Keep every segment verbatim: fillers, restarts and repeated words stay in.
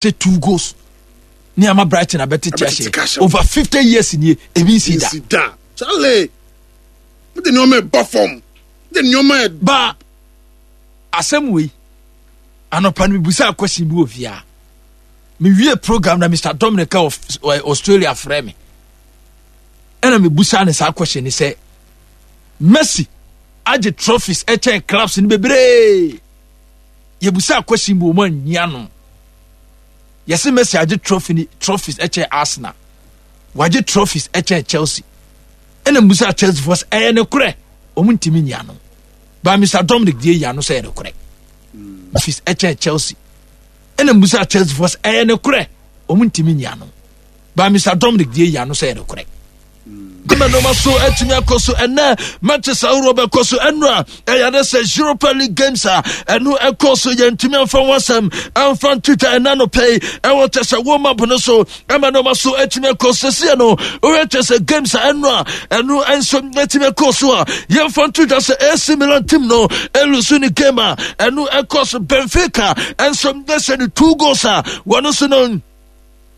Two goals ní ama Brighton abɛtete ahyɛ over fifty years nie, ebi nsi da. Nsi da, Charlie. Mo de nneɛma ɛbɔ fam de nneɛma ɛ. Ba asɛm wei, anɔpa no mibusa question bi wɔ fia. Mewie program na Mister Dominic of Australia frɛ me, ɛna mebusa ne saa question ni sɛ Messi agye trophies ɛkyɛn clubs no bebree. Yɛbusa question bi, wɔn anyia no. Yɛsɛ Messi agye trophy ni, trophies ɛkyɛn Arsenal, wagye trophies ɛkyɛn Chelsea. Ɛna mbusa Chelsea fo sɛ ɛyɛ ne korɛ? Wɔn ntumi nyia no. Ba Mister Dominic deɛ, yia no sɛ ɛyɛ ne korɛ, trophies ɛkyɛn Chelsea. Ɛna mbusa Chelsea fo sɛ ɛyɛ ne korɛ? Wɔn ntumi nyia no. Ba Mister Dominic deɛ, yia no sɛ ɛyɛ ne korɛ. Nneɛma so atumi akɔ so ɛnɛ, matches ahorow bɛkɔ so. Ɛno a ɛyɛ de sɛ Europa League games a ɛno ɛkɔ so, yɛntumi amfa ho asɛm amfa ntwitwa. Ɛna no pɛi ɛwɔ kyɛ sɛ warm up no so ɛma nneɛma so atumi akɔ so seɛ no. Wohwɛ kyɛ sɛ games a ɛno a ɛno nso atumi akɔ so a, yɛmfa ntwitwa sɛ A C Milan team no ɛlose ne game a ɛno ɛkɔ so. Benfica ɛnso ɛhyɛ no two goals a wɔno nso no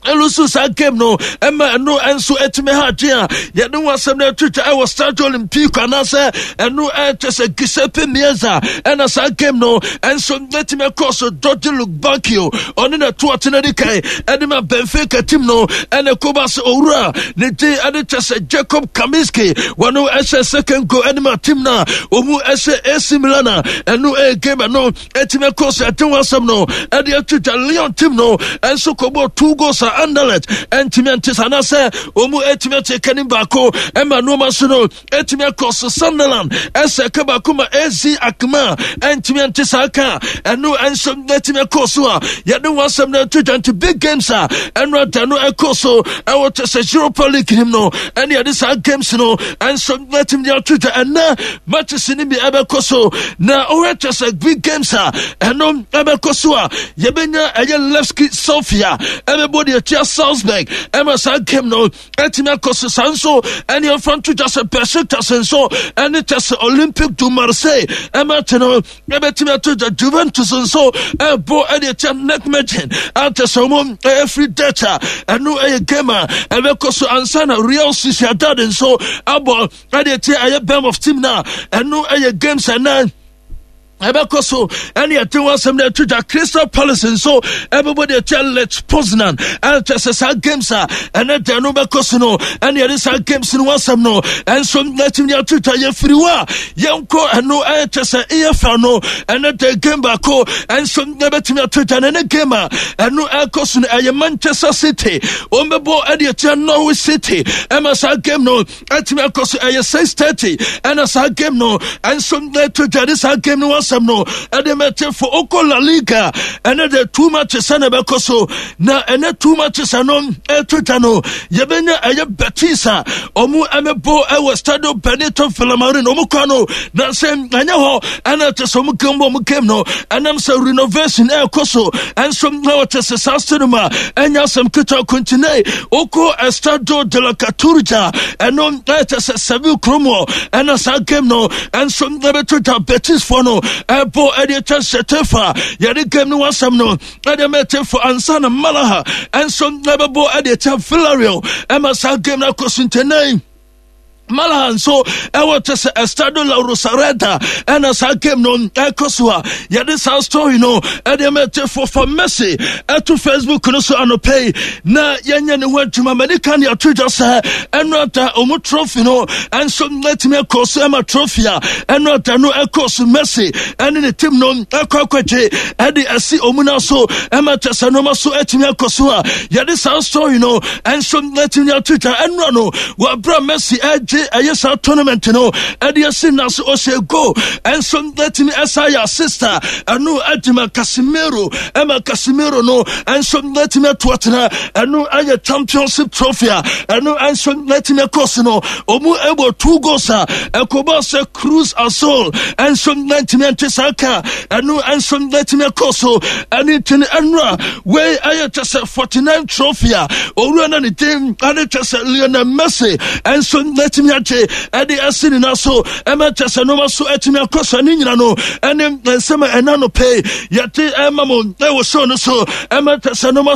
ɛlose saa game no, ɛma ɛno nso atumi ha adwen a yɛde ho asɛm no atwitwa ɛwɔ Stadio Olimpico anaasɛ ɛno ɛkyɛ sɛ Giuseppe Meazza. Ɛna saa game no ɛnso atumi akɔ so. Dodi Lukebakio, ɔne na to ɔtena di kan ɛde ma Benfica team no, ɛna koba sɛ owura ne din ɛde kyɛ sɛ Jacob Kaminski, wɔno ɛhyɛ second goal ɛde ma team no a ɔmu ɛhyɛ A C Milan a ɛno ɛyɛ game ɛno ɛtumi akɔ so. Ɛde ho asɛm no ɛde atwitwa. Lyon team no ɛnso kɔbɔ two goals a Anderlecht ɛntumi ɛnte sa anaasɛ ɔmu ɛtumi ate kanim baako, ɛma nneɛma so no ɛtumi akɔ so. Sunderland ɛsɛ ka baako ma A Z Alkmaar ɛntumi ɛnte saa ka, ɛno ɛnso ɛtumi akɔ so a yɛde ho asɛm no ɛto dwa. Nti big games a ɛno ada no ɛkɔ so ɛwɔ kyɛ sɛ Europa League nim no, ɛne yɛde saa games no ɛnso ɛtumi de ato dwa. Ɛnɛ matches no bi ɛbɛkɔ so na ɔhwɛ kyɛ sɛ big games a ɛno ɛbɛkɔ so a, yɛbɛnya ɛyɛ Levski Sofia ɛbɛbɔ deɛ tia Salzburg, ɛma saa game no ɛtumi akɔ so. Saa nso ɛne ɛmfa nto dwa sɛ Besiktas nso ɛne kyɛ sɛ Olympique du Marseille ɛma te no ɛbɛtumi ato dwa. Juventus nso ɛbɔ ɛde tia Nijmegen akyɛ sɛ ɔmo ɛfiri Dutch a ɛno ɛyɛ game a ɛbɛkɔ so ansa na Real Sociedad nso abɔ ɛde tia ɛyɛ Bournemouth team no a ɛno ɛyɛ games ɛnɛ ɛbɛkɔ so. Ɛne ɛte ho asɛm no ɛto dwa. Crystal Palace nso ɛbɛbɔ deɛ ɛkyɛ Lech Poznan. Ɛnkyɛ sɛ saa games a ɛnɛ da no bɛkɔ so no, ɛne ɛde saa games no ho asɛm no ɛnso ɛtumi de ato dwa. Yɛfiri hɔ a, yɛnkɔ ɛno ɛkyɛ sɛ E F L no. Ɛnɛ da game baako ɛnso ɛbɛtumi ato dwa no, ɛne game a ɛno ɛkɔ so no ɛyɛ Manchester City wɔn bɛbɔ ɛde ɛkyɛ Norwich City, ɛma saa game no ɛtumi akɔ so. Ɛyɛ six thirty ɛna saa game no ɛnso ɛto dwa de saa game no wasɛm no ɛde mɛte fo. Okɔ La Liga, ɛnɛ de two matches ɛna ɛbɛkɔ so, na ɛnɛ two matches ɛno ɛto dwa no, yɛbɛnya ɛyɛ Betis a ɔmo ɛmɛbɔ ɛwɔ Stadio Benito Villamarin. Ɔmo kɔ no na sɛ ɛnyɛ hɔ ɛna ɛte sɛ ɔmo game bɔ ɔmo game no, ɛnam sɛ renovation ɛɛkɔ so ɛnso ɛwɔ te sɛ saa stadium a ɛnyɛ asɛm ketewa kontine. Okɔ Estadio de la Cartuja, ɛno ɛkyɛ sɛ Seville kurom hɔ, ɛna saa game no ɛnso ɛbɛto dwa. Betis foɔ no ɛbɔ ɛde kyɛ Getafe, yɛde game no wasɛm no ɛde mɛte fo ansa na Malaga ɛnso ɛbɛbɔ ɛde kyɛ Villarreal, ɛma saa game no akɔ so. Ntɛnɛn Malaga nso ɛwɔ kyɛ sɛ Estadio La Rosaleda, ɛna saa game no ɛkɔ so a yɛde saa story no ɛde mɛte fofa Messi ɛto Facebook no so anɔpɛ yi na yɛnyɛ ne ho adwuma. Mani ka ne ato dwa sɛ ɛno ada ɔmo trophy no ɛnso ɛtumi ɛkɔ so, ɛma trophy a ɛno ada no ɛkɔ so, Messi ɛne ne team no ɛkɔ akɔgye ɛde ɛsi ɔmo na so, ɛma kyɛ sɛ nneɛma so ɛtumi akɔ so a yɛde saa story no ɛnso ɛtumi ato dwa. Ɛnora no wɔabrɛ Messi ɛgye ɛyɛ saa tournament no ɛde asi na so, ɔhyɛ goal ɛnso ɛtumi ɛsa yɛ assist a ɛno ɛde ma Casemiro, ɛma Casemiro no ɛnso ɛtumi ato atena. Ɛno ɛyɛ championship trophy a ɛno ɛnso ɛtumi ɛkɔ so no, ɔmu ɛbɔ two goals a ɛkɔbɔ sɛ Cruz Azul ɛnso ɛntumi ɛnte saa ka, ɛno ɛnso ɛtumi ɛkɔ so. Ɛne ntini ɛnora wei ɛyɛ kyɛ sɛ forty-nine trophy a owura na ne din ɛne kyɛ sɛ Lionel Messi ɛnso ɛtumi agye ɛde ɛsi ne nan so, ɛma kyɛ sɛ nneɛma so ɛtumi akɔ so. Ne nyina no ɛne nsɛm a ɛna no pɛ yɛde ɛma mo ɛwɔ show no so, ɛma kyɛ sɛ nneɛma